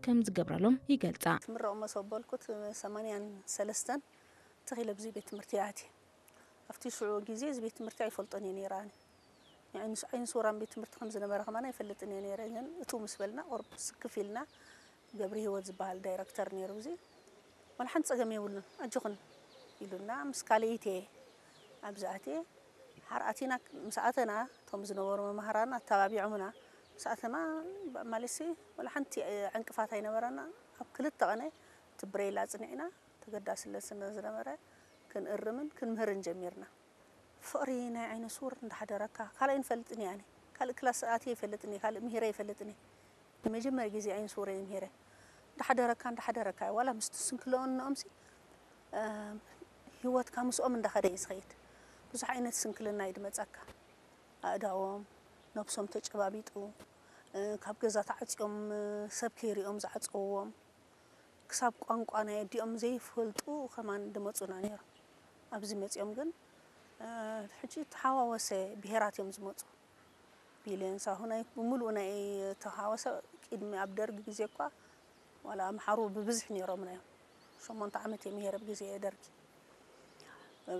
ከም ዝገብረሎም ይገልጻ። ትምረቕ መሶብ በልኩት ሰማንያን ሰለስተን ተኺለ ብዚ ቤት ትምህርቲ እያ ኣትየ። ኣብቲ ሽዑ ግዜ እዚ ቤት ትምህርቲ ኣይፈልጦን እየ ነይረ ኣነ። ዓይንስ ዓይንስ ወራን ቤት ትምህርቲ ከም ዝነበረ ከማን ኣይፈልጥን እየ ነይረ። ግን እቱ ምስ በልና ቁርብ ስክፍ ኢልና ገብረ ህይወት ዝበሃል ዳይረክተር ነይሩ። እዚ ዋላ ሓንቲ ጸገም የብሉን ኣጆኽን ኢሉና ምስ ካልኢት እየ ኣብዚ ኣትየ። ሓር ኣቲና ምስ ኣተና እቶም ዝነበሩ መማህራን ኣተባቢዖምና ምስ ኣተና ማለሲ ዋላ ሓንቲ ዕንቅፋት ኣይነበረና። ኣብ ክልተ ቐነ እቲ ብሬል ኣጽኒዕና ተገዳስነት ስለ ዝነበረ ክንእርምን ክንምህርን ጀሚርና። ፍቕሪ ናይ ዓይነ ስውር እንዳሓደረካ ካልኣይ ንፈልጥን እየ ኣነ ካልእ ክላስ ኣትየ ይፈልጥን እየ ካልእ ምሂረ ይፈልጥን እየ ንመጀመርያ ግዜ ዓይነ ስውር እየ ምሂረ እንዳሓደረካ እንዳሓደረካ እዩ ዋላ ምስቲ ስንክልኦንኦምሲ ህይወትካ ምስኦም እንዳኸደ እዩ ዝኸይድ ብዙሕ ዓይነት ስንክልና እዩ ድመፀካ ኣእዳዎም ነብሶም ተጨባቢጡ ካብ ገዛ ተዓፅዮም ሰብ ከይሪኦም ዝዓፀውዎም ክሳብ ቋንቋ ናይ ኣዲኦም ዘይፈልጡ ከማን ድመፁና ነይሮም። ኣብዚ መፂኦም ግን ሕጂ ተሓዋወሰ ብሄራት እዮም ዝመፁ። ቢልዮን ሳሆ ናይ ብምሉኡ ናይ ተሓዋወሰ ቅድሚ ኣብ ደርጊ ግዜ እኳ ዋላ ኣምሓሩ ብብዝሒ ነይሮምና እዮም። ሸሞንተ ዓመት እየ ምሄረ ብግዜ ደርጊ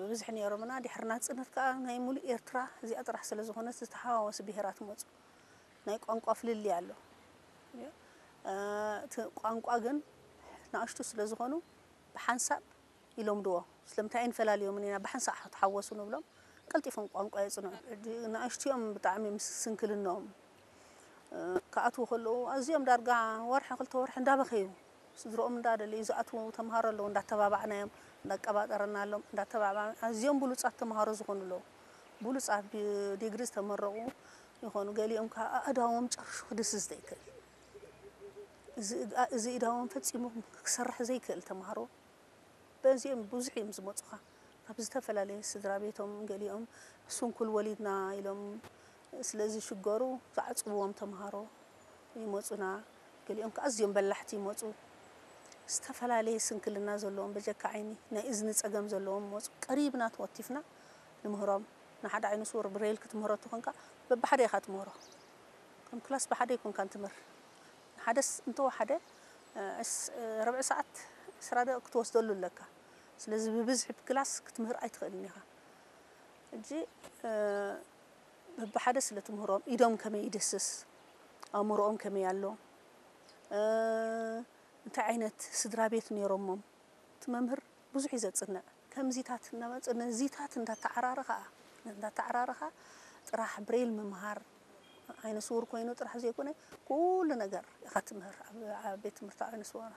ብብዝሒ ነይሮምና። ድሕሪ ናፅነት ከዓ ናይ ሙሉእ ኤርትራ እዚኣ ጥራሕ ስለ ዝኾነት ዝተሓዋወሰ ብሄራት መፁ። ናይ ቋንቋ ፍልልይ ኣሎ። እቲ ቋንቋ ግን ንኣሽቱ ስለ ዝኾኑ ብሓንሳብ ይለምድዎ። ስለምንታይ ኣይንፈላልዮምን ኢና ብሓንሳብ ተሓወሱ ንብሎም። ቀልጢፎም ቋንቋ የፅንዑ። ሕጂ ንኣሽቱ እዮም ብጣዕሚ ምስ ስንክልንኦም ክኣትዉ ከለዉ ኣዝዮም ዳርጋ ወርሒ ክልተ ወርሒ እንዳበኸዩ ስድርኦም እንዳደለዩ ዝኣትዉ ተምሃሮ ኣለዉ። እንዳተባባዕናዮም እንዳቀባጠረናሎም እንዳተባባዕ ኣዝዮም ብሉፃት ተምሃሮ ዝኾኑ ኣለዉ። ብሉፃት ብዲግሪ ዝተመረቑ ይኾኑ። ገሊኦም ከዓ ኣእዳዎም ጨርሹ ክድስስ ዘይክእል እዚ እዳዎም ፈፂሙ ክሰርሕ ዘይክእል ተምሃሮ በዚኦም ብዙሕ እዮም ዝመፁኻ ካብ ዝተፈላለየ ስድራ ቤቶም ገሊኦም ስንኩል ወሊድና ኢሎም ስለ ዝሽገሩ ዝዓፅውዎም ተምሃሮ ይመፁና። ገሊኦም ከዓ ኣዝዮም በላሕቲ ይመፁ ዝተፈላለየ ስንክልና ዘለዎም በጀካ ዓይኒ ናይ እዝኒ ፀገም ዘለዎም ይመፁ ቀሪብና ተወቲፍና ንምህሮም። ንሓደ ዓይነ ስውር ብሬል ክትምህሮ ተኾንካ በብሓደ ኢኻ ትምህሮ። ከም ክላስ ብሓደ ኣይኮንካን ትምህር። ንሓደስ እንተወሓደ ርብዒ ሰዓት ዕስራ ደቂቕ ክትወስደሉ ኣለካ። ስለዚ ብብዝሒ ብክላስ ክትምህር ኣይትኽእልን ኢኻ። ሕጂ በብሓደ ስለ ትምህሮም ኢዶም ከመይ ይድህስስ፣ ኣእምሮኦም ከመይ ኣሎ፣ እንታይ ዓይነት ስድራ ቤት ነይሮሞም፣ እቲ መምህር ብዙሕ እዩ ዘጽንዕ። ከምዚታት እናመጸ ነዚታት እንዳተዓራረኻ እንዳተዓራረኻ ጥራሕ ብሬል ምምሃር ዓይነ ስውር ኮይኑ ጥራሕ ዘይኮነ ኩሉ ነገር ኢኻ ትምህር ኣብ ቤት ትምህርቲ ዓይነ ስውር